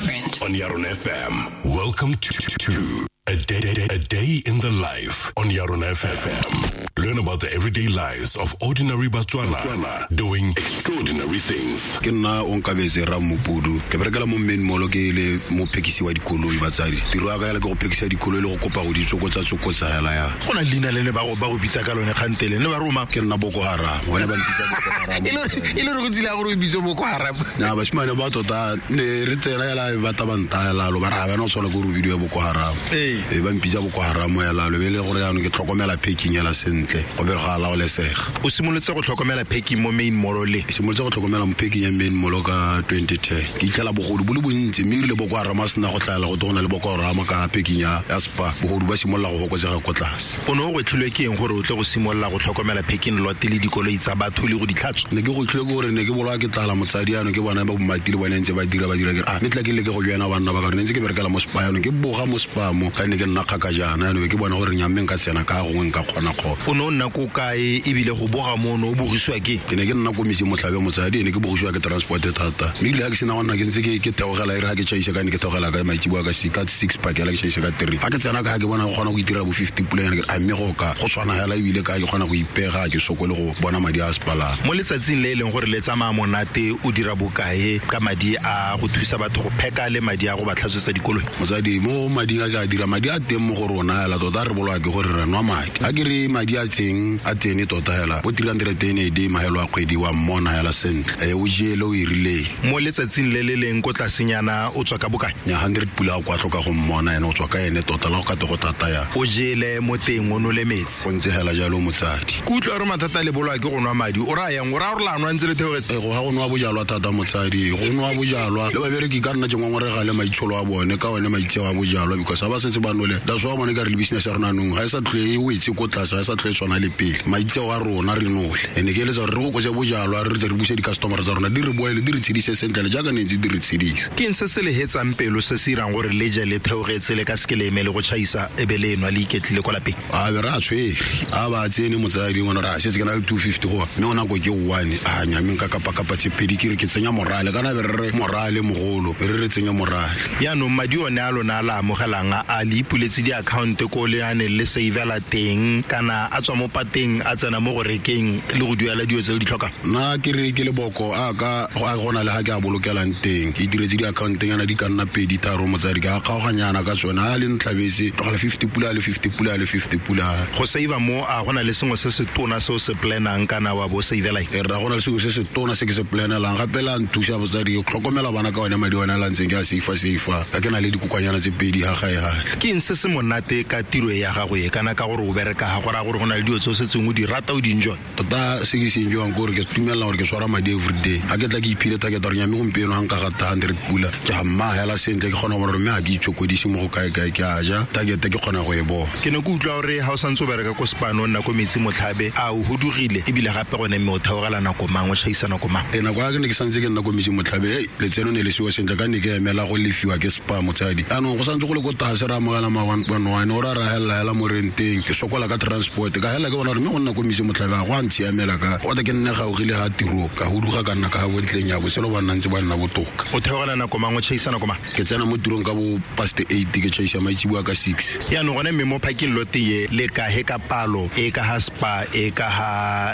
Different. On Yaron FM. Welcome to a day in the life on Yaron FM. Learn about the everyday lives of ordinary Batswana doing extraordinary things. Ke nna Onkabetse Ramopudu, ke berekela mo Main Mall, ke le mophekisi wa dikoloi. Batsadi, tiro ya ka yala ke go phekisa dikoloi le go kopa go di tsokotsa hela ya. Go na le leina le ne ba go bitsa ka lone kgantele ne ba roma. Ke nna Boko Haram, bone ba mpitsa Boko Haram. E le gore go tsile ya gore o bitse Boko Haram? Na basimane ba tota ne re tsena yala ba ta ba ntaya lalo, ba re ga bana o tshwana ke gore o bidiwe Boko Haram. E ba mpitsa Boko Haram ya lalo, be le gore yaanong ke tlhokomela parking yela sentle, go be go a laolesega. O simolotse go tlhokomela parking mo Main Mall le? Ke simolotse go tlhokomela mo parking ya Main Mall ka 2010. Ke itlhela bogodu bo le bontsi, mme erile Boko Haram a sena go tlhaela, go te go na le Boko Haram ka parking ya Spar, bogodu ba simolola go fokotsega ko tlase. O ne o gwetlhilwe ke eng gore o tle go simolola go tlhokomela parking lot le dikoloi tsa batho le go di tlhatswa? Ne ke gwetlhilwe ke gore ne ke bolawa ke tlala, motsadi. Ano ke bona ba bomati le bone ntse ba dira, ke re, ah, mme tla ke leke go joina banna ba ka gore ne ntse ke berekela mo Spar, yanong ke boga mo Spar mo ka ne ke nna kgaka jaana, yanong ke bona gore nyamme nka tsena ka gongwe nka kgona kgona. O ne o nna ko kae, ebile go boga mo o ne o bogisiwa ke? Ke ne ke nna ko Metsing Motlhabe, motsadi. Ne ke bogisiwa ke transport thata, mme ebile ga ke sena go nna ke ntse ke theogela, e re ga ke chaisa ka ne ke theogela ka maitseboa ka 6, pakela ke chaisa ka 3. Ga ke tsena ka ke bona go kgona go itirela bo 50 pulanyana, ke re, a mme go ka go tshwana hela, ebile ka ke kgona go ipega, ke sokole go bona madi a sepalang. Mo letsatsing le e leng gore le tsamaya monate, o dira bokae ka madi a go thusa batho go pheka le madi a go ba tlhatswetsa dikoloi? Motsadi, mo mading a ke a dira, madi a teng mo go rona hela tota. Re boloa ke gore re nwa madi a ke re madi a teng a tsene tota hela bo 300 a day. Mahelo a kgwedi wa mmona hela sentle, e o jele o e rileng. Mo letsatsing le le leng ko tlasenyana, o tswa ka bokae? Nya, 100 pula a kwa tlhoka go mmona, ene o tswa ka ene tota la go ka te go thata ya. O jele mo teng, o nole metsi. Go ntse hela jalo, motsadi. Ke utlwa re mathata le bolwa ke go nwa madi. O raya yang? O raya gore la nwa ntse le theogetse? Go ga go nwa bojalwa thata, motsadi, go nwa bojalwa le babereki ka nna ke ngongorega le maitsholo a bone ka one maitseo a bojalwa, because ga ba setse ba nole, that's why bone ka re le business ya rona nong ga e sa tlhole e wetse ko tlase, ga e sa tlhole e tshwana le pele. Maitseo a rona re nole, ene ke eletsa gore re go kotse bojalwa, re tle re buse di-customer tsa rona, di re boele di re tshedise sentle le jaaka ne ntse di re tshedisa. Ke eng se se le hetsang pelo, se se irang gore le je le theogetse, le ka seke le emele go chaisa, e be le enwa le iketlile kwa lapeng? A be re a tshwere a ba tsene, motsadi. Ngwana re a setse ke na le 250 goa, mme o nako ke one a nyameng ka kapakapa tse pedi, ke re ke tsenya morale, kana be re re morale mogolo, re re tsenya morale. Yaanong madi one a lona a la amogelang, a le ipuletse diakhaonte ko le aneng le savela teng, kana a tswa mo pateng a tsena mo go rekeng le go duela dilo tse le di tlhokang? Nna ke re ke leboko a ka a gona le ga ke a bolokelang teng. Ke itiretse diakhaontenyana di ka nna pedi tharo, motsadi, ke a kgaoganyana ka tsone a le ntlhabetse tlogela 50 pula le 50 pula le 50 pula. Go save mo, a gona le sengwe se se tona se o se planang, kana wa bo savela eng? E rra, gona le sengwe se se tona se ke se planelang gape le a nthusa, motsadi, ke tlhokomela bana ka one madi one a la ntseng ke a seifa ka ke na le dikokwanyana tse pedi ga gae gale. Ke eng se se monate ka tiro e ya gago e, kana ka gore o bereka ga go raya gore go na le dilo tse o setseng o di rata, o di enjoy? Tota se ke se enjoyang ke gore ke tumelela gore ke tshwara madi everyday. Ga ke tla ke iphile target gore nyame gompieno ga nka gata 100 pula, ke ga mma hela sentle, ke kgona go bona gore mme ga ke itshokodise mo go kae-kae, ke a ja target, ke kgona go e bona. Ke ne ke utlwa gore ga o santse o bereka ko Spar, o nna ko Metsi Motlhabe, a o hudugile, ebile gape gone mme o theogela nako mang, o chaisa nako mang? E nako ya ke ne ke santse ke nna ko Metsi Motlhabe, ei, letseno ne le seo sentle ka ne ke emela go lefiwa ke Spar, motsadi. Anong go santse go le ko tlase, re amogela ma 1.1, o ra ra helela hela mo renteng, ke sokola ka transport, ka hela ke bona gore mme go nna ko Metsi Motlhabe ga go a ntshiamela, ka gota ke nne gaugile ga tiro, ka huduga ka nna ka ga bontleng ya botshelo ba nna ntse ba nna botoka. O theogela nako mang, o chaisa nako mang? Ke tsena mo tirong ka bo past 8, ke chaisa maitseboa ka 6. Yaanong gone mme mo parking lot ye le kahe ka palo e ka ga Spar, e ka ga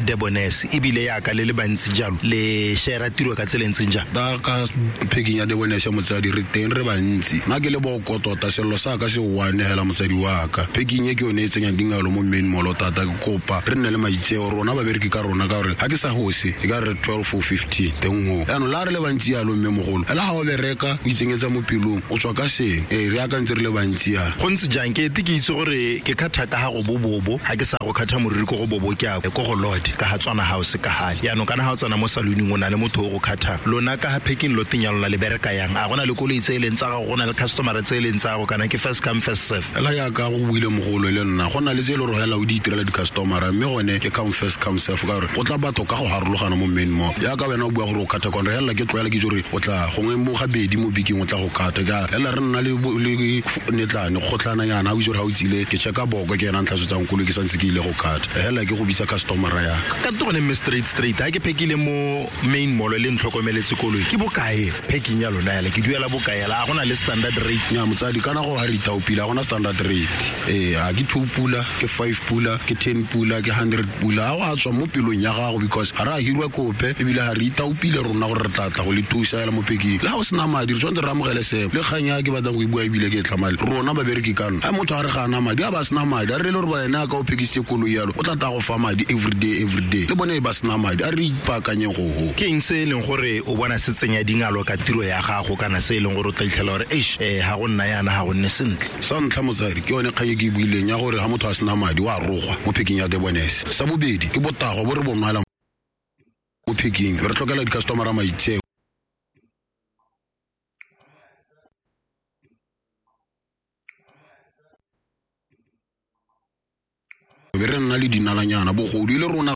Debonaires, ebile yaka le le bantsi jalo, le share tiro ka tsela e ntseng jang? Ta ka parking ya Debonaires, motsadi, re teng re bantsi. Nna ke le boko tota, sello sa ka se one hela, motsadi wa ka. Parking e ke yone e tsenyang dingalo mo Main Mall thata. Ke kopa re nne le maitseo rona babereki ka rona, ka gore ga ke sa gose e ka re 12 or 15 teng go. Yaanong la re le bantsi yalo, mme mogolo ela ga o bereka o itsenyetsa mo pelong, o tswa ka seng ee, re akantse re le bantsi ya. Go ntse jang? Ke ete ke itse gore ke kgatha ka ga go bobobo, ga ke sa go kgatha moriri ko go bobo, ke a ko go Lord ka ga Tswana House ka gale. Yaanong kana ga o tsena mo salooning, o na le motho o go kgathang. Lona ka ga parking loteng ya lona, le bereka yang? A go na le koloi tse e leng tsa gago, go na le customer tse e leng tsa gago, kana ke first come, first serve? Ela yaka go buile mogolo le nna, go na le tse e le gore hela o di itirela. tlhokomela di-customera, mme gone ke come first come serve, ka gore go tla batho ka go harologana mo main mall. Jaaka wena o bua gore o kgatha kwane, re helela ke tlwaela ke itse gore o tla gongwe mo gabedi mo biking o tla go kgatha. Ka helela re nna le netlane kgotlhana yana, o itse gore ga o tsile ke checka boko ke ena ntlhatswetsang koloi ke santse ke ile go kgatha, helela ke go bitsa customera yaka. Ka gone mme straight ha ke phekile mo main mall le ntlhokomeletse koloi, ke bokae packing ya lona yala? Ke duela bokae yala? A gona le standard rate? Nya motsadi, kana go ha re ithaopile, ga gona standard rate. Ee, ga ke 2 pula, ke 5 pula, ke 10 pula, ke 100 pula, ga go a tswa mo pelong ya gago, because ga re a hirwa kope, ebile ga re ithaopile rona gore re tla tla go le thusa hela mo pekeng. Le ga o sena madi, re tshwanetse re amogele seo. Le kgang ya ke batlang go e bua ebile ke e tlhamale, rona babereki kano, ga motho a re ga ana madi, a ba sena madi, a re le gore ba ene a ka o phekisitse koloi yalo, o tla tla go fa madi everyday, le bone ba sena madi, a re ipaakanyeng go ho. Ke eng se e leng gore o bona se tsenya dingalo ka tiro ya gago, kana se e leng gore o tla itlhela gore eish, ga go nna yana, ga go nne sentle? Sa ntlha motsadi, ke yone kgang e ke e buileng ya gore ga motho a sena madi wa rogwa mo pheking ya Debonese. Sa bobedi ke botagwa bo re bo nwela mo pheking, re tlhokela di-customera maitseo. Be re nna le dinalanyana, bogodu e le rona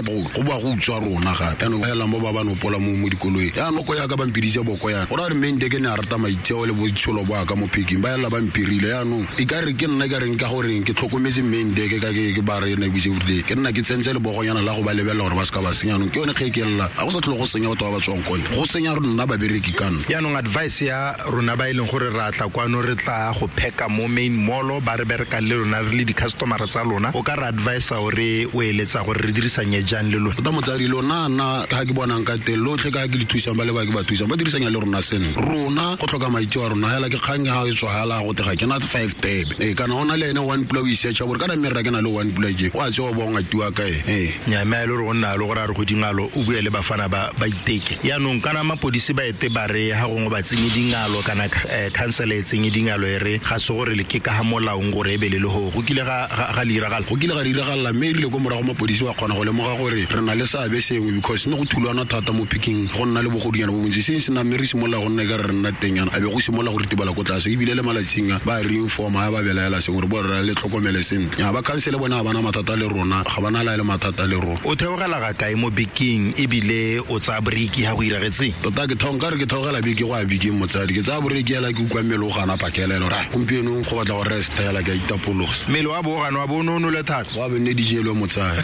go boa go utswa rona gape. Jaanong ba helang bo ba ba nopola mo dikoloing, jaanong ko yaka ba mpiditse boko yana, go raya gore mme ke ne a rata maitseo le botshelo bo ka mo pheking, ba helela ba mpirile. Jaanong e ka re ke nna ka reng ka goreng ke tlhokometse mme ndeke ka ke ba re ena ebuse everyday, ke nna ke tsentse lebogonyana la go ba lebelela gore ba se ka ba senya. Jaanong ke yone kge ke lela, ga go sa tlhole go senya batho ba ba tswang kone, go senya rona babereki kana. Jaanong advice ya rona ba e leng gore ra tla kwano, re tla go pheka mo main mall, ba re berekang le lona re le di-customera tsa lona, o ka re advisa gore o eletsa gore re dirisanye jang le lona? Tota motsadi, lona nna ga ke bonang ka teng lotlhe, ka ke le thusang, ba le ba ke ba thusang, ba dirisanya le rona sentle. Rona go tlhoka maitseo a rona hela ke kgang ga e tswa hela go tega ke na 5 tebe, ee, kana o na le ene one pula o isearcha gore kana mme rra ke na le one pula ke o a tsewa bo ngatiwa kae. Ee nya mme a e le gore o nna le gore a re go dingalo o bue le bafana ba ba iteke. Yaanong kana mapodisi ba ete ba re ga gongwe ba tsenye dingalo, kana council e tsenye dingalo, e re ga se gore le ke ka ga molaong gore e be le le go kile ga le iragala. Go kile ga diragala, mme erile ko morago mapodisi ba kgona go lemoga gore re na le seabe sengwe, because ne go thulwana thata mo picking, go nna le bogodunyana bo bontsi seng sena, mme re simolola go nna e ka re nna teng yana, a be go simolola go ritibala ko tlase. Ebile le malatsing a ba re informa, ba belaela sengwe, re bo re le tlhokomele sentle. Ya ba council bone ga bana mathata le rona, ga bana la le mathata le rona. O theogela ga kae mo biking, ebile o tsaya break ga go iragetseng? Tota ke thong ka re ke theogela beke go a biking motsadi, ke tsaya break hela ke utlwa mmele o gana pakelelo, ra gompieno go batla go rest hela, ke a itapolosa. Mmele wa bo gana wa bo o nole thata, wa be nne dijelwe motsadi.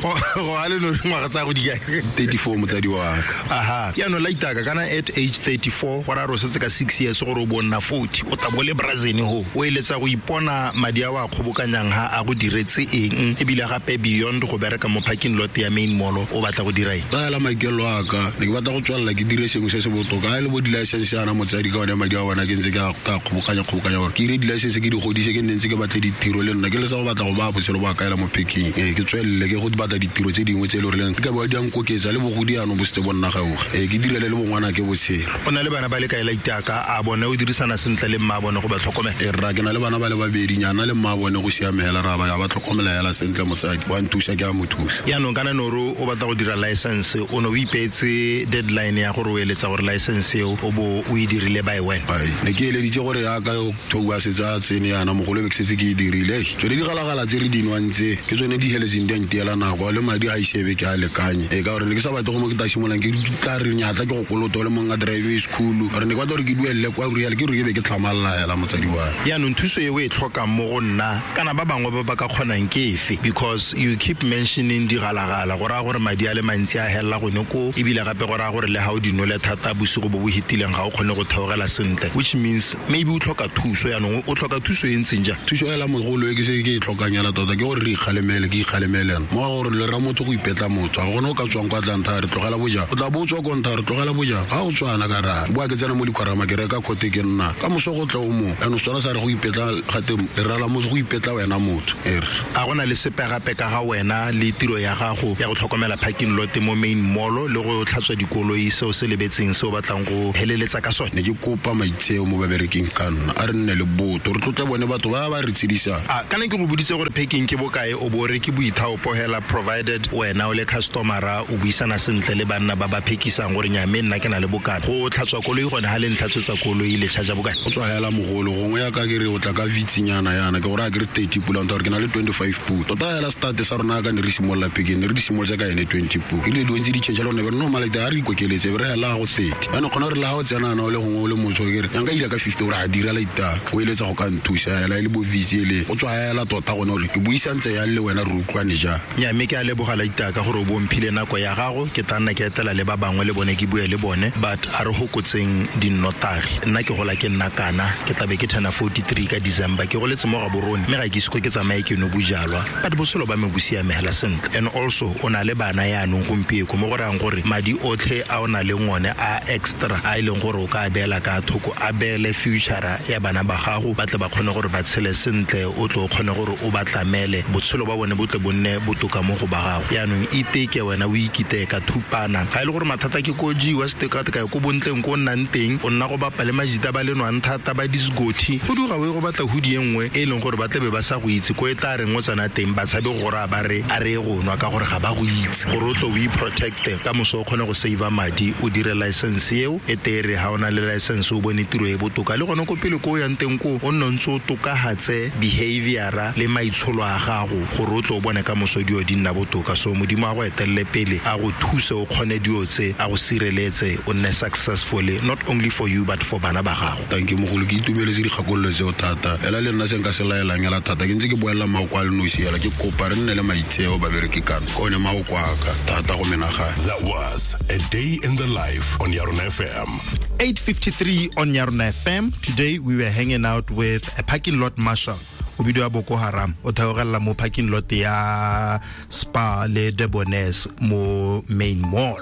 Go a le no ngwaga tsa go di kae? 34 motsadi wa ka. Aha, yaanong la itaka kana at age 34, go ra re o setse ka 6 years gore o bo nna 40, o tla bo le brazil ho o eletsa go ipona madi a o a kgobokanyang ha a go diretse eng, ebile gape beyond go bereka mo parking lot ya main mall o batla go dira eng? Taela maikelo a ka, ne ke batla go tswelela ke dire sengwe se se botoka, a le bo di-license yana motsadi, ka one madi a bona ke ntse ke a kgobokanya gore ke dire di-license, ke di godise, ke nne ntse ke batle ditiro le nna, ke le sa go batla go baya botshelo bo a kaela mo packing. Ee, ke tswelele ke go batla ditiro tse dingwe tse e le goreng di ka ba di a nkoketsa le bogodi yanong bo setse bo nna gaufi. Ee, ke direle le bongwana ke botshelo. O na le bana ba le kae la itaka? A bone o dirisana sentle le mma bone go ba tlhokomela? Ee rra, ke na le bana ba le babedi, nyana le mma bone go siame hela, ra ba ya ba tlhokomela hela sentle motsadi, wa nthusa ke a mo thusa. Yaanong kana no re o batla go dira license, o ne o ipeetse deadline ya gore o eletsa gore license eo o bo o e dirile by when? Ai, ne ke eleditse gore yaka October setse a tsene yana mogolo, be ke setse ke e dirile. Tsone digalagala tse re di nwang tse ke tsone di heletseng di a ntiela nako, le madi ga ise be ke a lekanye. Ee, ka gore ne ke sa batle go mo ke tla simololang ke tla re nyatla ke go koloto le monga driving school, gore ne ke batla gore ke duelele kwa real, ke re ke be ke tlhamalla hela motsadi wa. Yaanong thuso e o e tlhokang mo go nna kana ba bangwe ba ba ka kgonang ke efe? Because you keep mentioning digalagala, go raya gore madi a le mantsi a helela gone ko, ebile gape go raya gore le ga o di nole thata bosigo bo bo hitileng ga o kgone go theogela sentle, which means maybe o tlhoka thuso. Yaanong o tlhoka thuso e ntseng jang? Thuso ela mogolo e ke se ke e tlhokang ela tota ke gore re ikgalemele, ke ikgalemelena mo gore le ra motho go ipetla motho, ga gone o ka tswang kwa tlantha re tlogela bojang, o tla bo o tswa ko ntha re tlogela bojang, ga o tswana ka ra boa ke tsena mo dikgwarama ke reka khote ke nna ka moso go tla o mo yaanong Setswana sa re go ipetla gate lera la motho go ipetla wena motho ere. A go na le sepe gape ka ga wena le tiro ya gago ya go tlhokomela parking lot mo main mall le go tlhatswa dikoloi seo se lebetseng se o batlang go heleletsa ka sone? Ne ke kopa maitseo mo babereking ka nna, a re nne le botho, re tlotle bone batho ba ba re tshedisang. A kana ke go boditse gore packing ke bokae, o bo re ke boithaopo hela, provided wena o le le customera o buisana sentle le banna ba ba phekisang gore nya mme nna ke na le bokana go tlhatswa koloi gone ha le ntlhatswetsa koloi le charge bokana o tswa hela mogolo gongwe ya ka ke re o tla ka vitsinyana yana ke gore a ke re 30 pula gore ke na le 25 pula tota hela start sa rona ka ne re simolola pekeng ne re di simolotse ka ene 20 pula e rile dilo ntse di change le gone be re normal a re ikokeletse be re hela go 30 jaanong kgona gore le ga o tsenana o le gongwe o le motho ke re yang ka ira ka 50 gore a dira laitaka o eletsa go ka nthusa hela e le bo vitsi ele o tswa hela tota gone gore ke buisantse yang le wena re utlwane jang. Nya mme ke a leboga laitaka gore o bomphile nako ya gago ke tla nna ke etela le ba bangwe le bone ke bue le bone but a re hokotseng dinnotagi nna ke gola ke nna kana ke tlabe ke turna 43 ka December ke goletse mo Gaborone mme ga ke ise ke tsamaye ke no bojalwa but botshelo ba me bo siame hela sentle and also o na le bana yaanong gompieko mo go rayang gore madi otlhe a o na leng one a extra a e leng gore o ka beela ka thoko a beele future ya bana ba gago ba tle ba kgone gore ba tshele sentle o tle o kgone gore o ba tlamele botshelo ba bone bo tle bo nne botoka mo go ba gago yaanong iteke wena o ikiteye ka thupana ga e le gore mathata ke ko jewa setekatekao ko bontleng ko o nnang teng o nna go bapa le majita ba le nwang thata ba disgothi go duga o ye go batla hudi e nngwe e leng gore ba tlebe ba sa go itse ko e tla reng o tsena teng ba tshabe go raya ba re a re go nwa ka gore ga ba go itse gore o tle o iprotecte ka moso o kgone go save madi o dire license eo e tere ha o na le license o bone tiro e botoka le gone ko pele ko o yang teng ko o nne ntse o tokagatse behaviora le maitsholo a gago gore o tle o bone ka moso dio di nna botoka. So modimo a go etelele pele a go thuse o kgone dio tse a go sireletse o nne successful not only for you but for bana ba gago. Thank you mogolo ke itumeletse dikgakololo tseo thata ela le nna se nka se laelang ela thata ke ntse ke boelela maoko a le nosi ela ke kopa re nne le maitseo babereki kana ke one maoko a ka thata go menagane. That was A Day in the Life on Yarona FM. 8:53 on Yarona FM. Today we were hanging out with a parking lot marshal o bidiwa Boko Haram o theogela mo parking lot ya Spa le Debonaires mo main mall.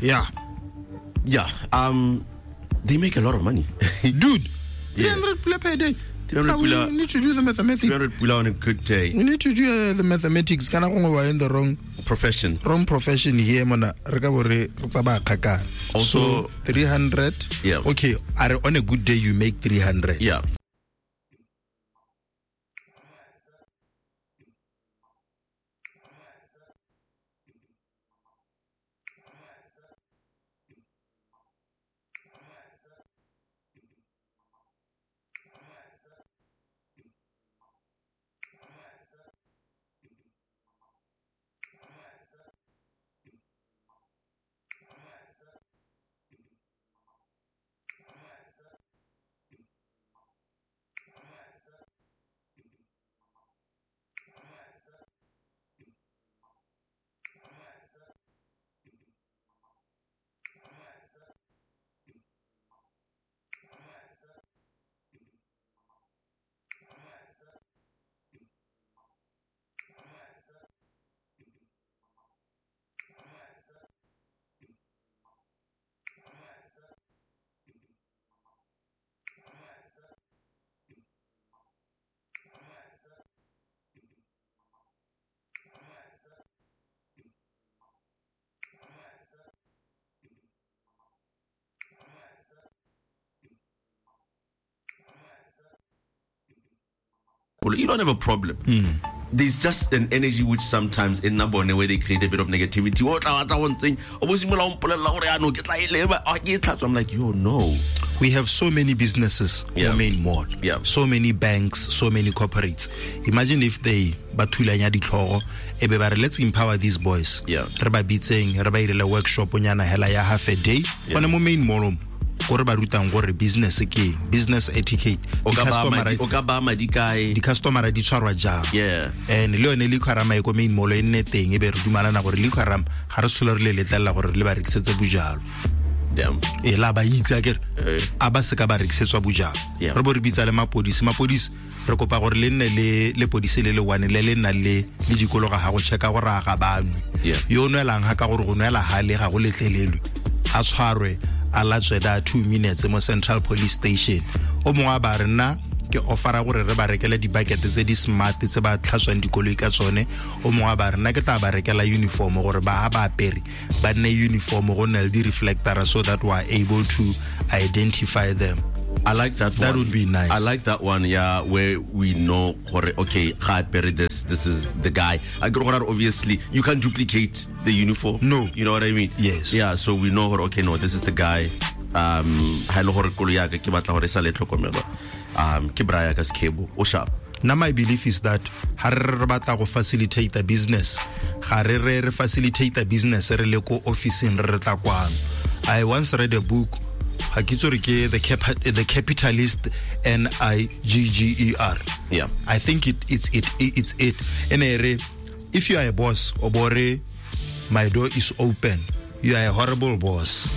Yeah. Yeah. They make a lot of money. Dude, 300 pula per day. 300 pula. We need to do the mathematics. 300 pula on a good day. We need to do the mathematics. Kana gongwe we're in the wrong profession. Wrong profession here mona. Re ka bo re tsamaya kgakala. Also, so 300. Yeah. Okay, are on a good day you make 300. Yeah. You don't have a problem. There's just an energy which sometimes in Nabone where they create a bit of negativity. I'm like, yo, no. We have so many businesses in the main mall. Yeah. So many banks, so many corporates. Imagine if they bathulanya ditlhogo ebe ba re let's empower these boys. Yeah. Re ba bitseng, re ba irele workshop nyana hela ya half a day. Gone mo main mall gore ba rutang gore business ke business etiquette, di-customer di tshwarwa jang. Yeah. And le yone liquor-ram e ko main mall e nne teng e be re dumalana gore liquor-ram ga re sole re le letlelela gore le ba rekisetse bojalo. E la ba itse akere a ba se ka ba rekisetswa bojalo. Re bo re bitsa le mapodisi re kopa gore le nne le lepodisi le le one le le nang le le dikologa ga go checka gore a ga banwe. Yo nwelang ga ka gore go nwela ha le ga go letlelelwe a tshwarwe a latswe da 2 minutes mo Central Police Station. O mongwe a ba re nna ke offera gore re ba rekele di-bucket tse di smart tse ba tlhatswang dikoloi ka tsone. O mongwe a ba re nna ke tla ba rekela uniform gore ba ha ba apere ba nne uniform go nne le di-reflector so that we are able to identify them. I like that one. That would be nice. I like that one, yeah, where we know gore, okay, ga apere this is the guy. I gore obviously you can't duplicate the uniform. No. You know what I mean? Yes. Yeah, so we know gore, okay, no, this is the guy. Ha ile gore koloi ya ka ke batla gore e sale tlhokomelwa. Ke bra ya ka Skhebo, o sharp. Now my belief is that ha re batla go facilitate the business, ga re re facilitate the business re le ko office-ing re tla kwano. I once read a book, ga ke itse gore ke the Capitalist, N I G G E R. Yeah. I think it's it. And if you are a boss, obore, my door is open. You are a horrible boss.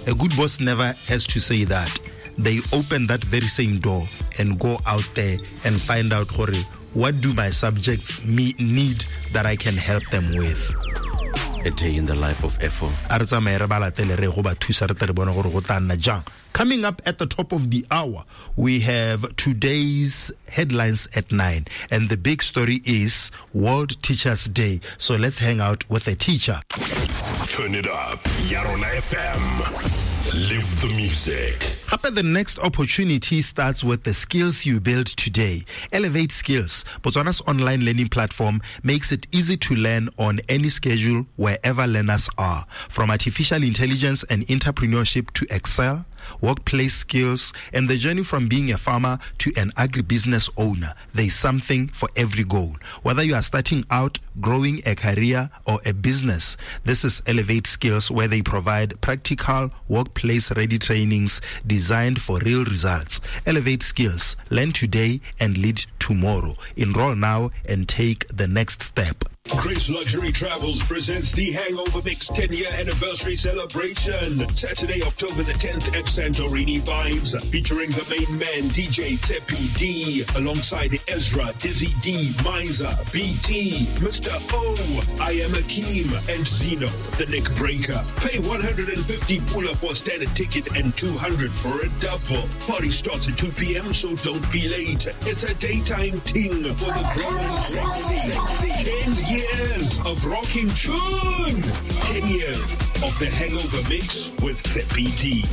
A good boss never has to say that. They open that very same door and go out there and find out gore, what do my subjects need that I can help them with. A day in the life of Efo. A re tsamaye re ba latele re go ba thusa re tle re bone gore go tla nna jang. Coming up at the top of the hour, we have today's headlines at 9. And the big story is World Teachers Day. So let's hang out with a teacher. Turn it up. Yarona FM. Live the music. Hape, the next opportunity starts with the skills you build today. Elevate Skills, Botswana's online learning platform, makes it easy to learn on any schedule wherever learners are. From artificial intelligence and entrepreneurship to Excel, workplace skills, and the journey from being a farmer to an agribusiness owner, there is something for every goal. Whether you are starting out, growing a career, or a business, this is Elevate Skills, where they provide practical, workplace-ready trainings designed for real results. Elevate Skills. Learn today and lead tomorrow. Enroll now and take the next step. Chris Luxury Travels presents the Hangover Mix 10-year anniversary celebration. Saturday, October the 10th at Santorini Vibes, featuring the main man, DJ Tepi D, alongside Ezra, Dizzy D, Miser, BT, Mr. O, I Am Akeem, and Zeno, the Neck Breaker. Pay 150 pula for a standard ticket and 200 for a double. Party starts at 2 p.m., so don't be late. It's a daytime ting for the grown sexy. 10 years of rocking tune. 10 years of the Hangover Mix with Tepi D.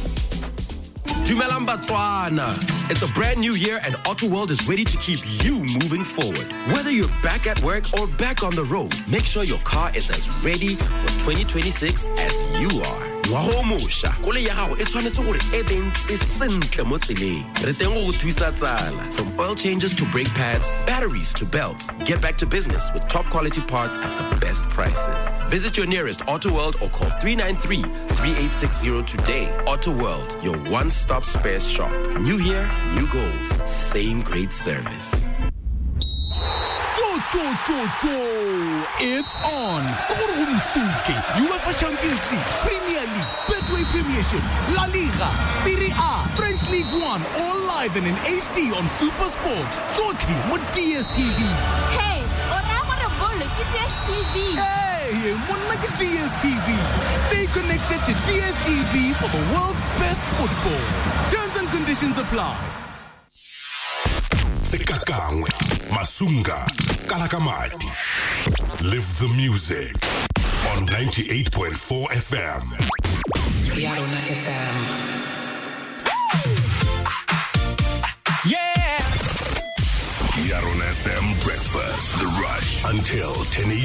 Dumelang Batswana. It's a brand new year and Auto World is ready to keep you moving forward. Whether you're back at work or back on the road, make sure your car is as ready for 2026 as you are. Ngwaga o mošwa, koloi ya gago e tshwanetse gore e be ntse sentle mo tseleng. Re teng go go thusa tsala. From oil changes to brake pads, batteries to belts, get back to business with top quality parts at the best prices. Visit your nearest Auto World or call 393-3860 today. Auto World, your one-stop spares shop. New year, new goals, same great service. Cho, cho, cho. It's on. UEFA Champions League, Premier League, Betway Premiership, La Liga, Serie A, French League One, all live and in HD on Super Sports. Tsotlhe mo DSTV. Hey, o raya gore bolo ke DSTV. Hey, monna ke DSTV. Stay connected to DSTV for the world's best football. Terms and conditions apply. Sekakangwe, Masunga, Kalakamati. Live the music on 98.4 FM. Yarona FM. Yeah! Yarona FM Breakfast. The Rush until 10 a.m.